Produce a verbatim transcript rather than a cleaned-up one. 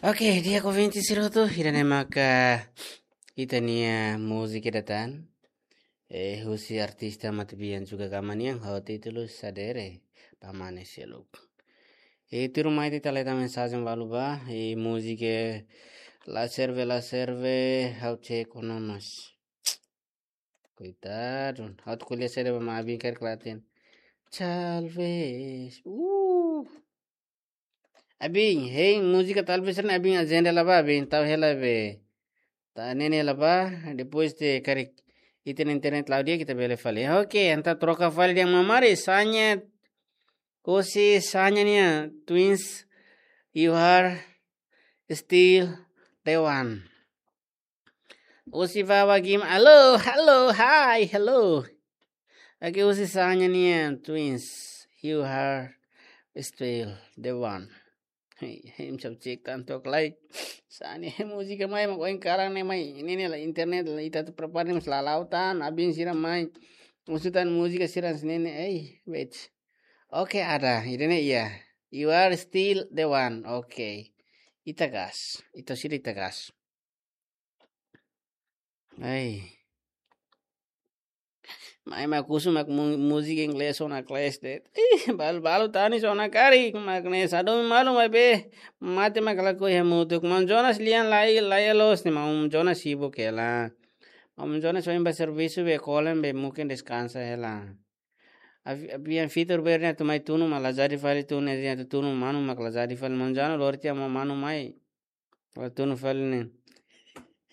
Oke, di'ak ouvinte sira hotu, ida-ne'e maka ita-nia múzika ida tan. Eh, husi artista matebian Juga Gama nian, ho títulu Sadere, Pamane Seluk. E tuirmai ita leta mensajen balu ba, e múzika La Serve, La Serve, ha'u cek ona mas. Koitadu, ha'u atu ko'alia saida ba Abin karik la hatene. Talvez. Uh. Abin, hein, múzika Talvez ne'e Abin ajenda hela ba, Abin tau hela be. Tau ne'e hela ba, depois de karik ita-nia internet la'o di'ak ita bele fali. Oke, entaun troka fali dehan Mamari, Sanya, husi Sanya nian, Twins, You Are Still the One. Husi Vava Gim, hello, hello, hi, hello. Oke, husi Sanya nian, Twins, You Are Still the One. Hei, hei, imi sab cek tan took lai. Sanya, múzika mai, mak oin kalan ne'e mai. Ne'e ne'e la internet, la ita atu prepara ne'e mas la la'o tan, Abin sira mai. Husu tan múzika sira ne'e ne'e, ei, wait. Oke, ada, ida-ne'e iha. You Are Still the One, oke. Ita gas, ita sira ita gas. Ai. Mai mak husu mak mu-, múzika inglés ona kles de'it. Ih, balu, balu tanis ona karik, mak ne'e hadomi malu maibé. Mate mak lakohi hamutuk. Maun Jonas lian lai, lai loos ne'e, Maun Jonas sibuk hela. Maun Jonas ohin ba servisu be kolen be mungkin deskansa hela. Avi-, avian fitur ber ne'e atu mai tunu mak la jadi fali tunu ne'e atu tunu manu mak la jadi fali Maun Jonas lori tiha Maun Manu mai. La tunu fali ne'e.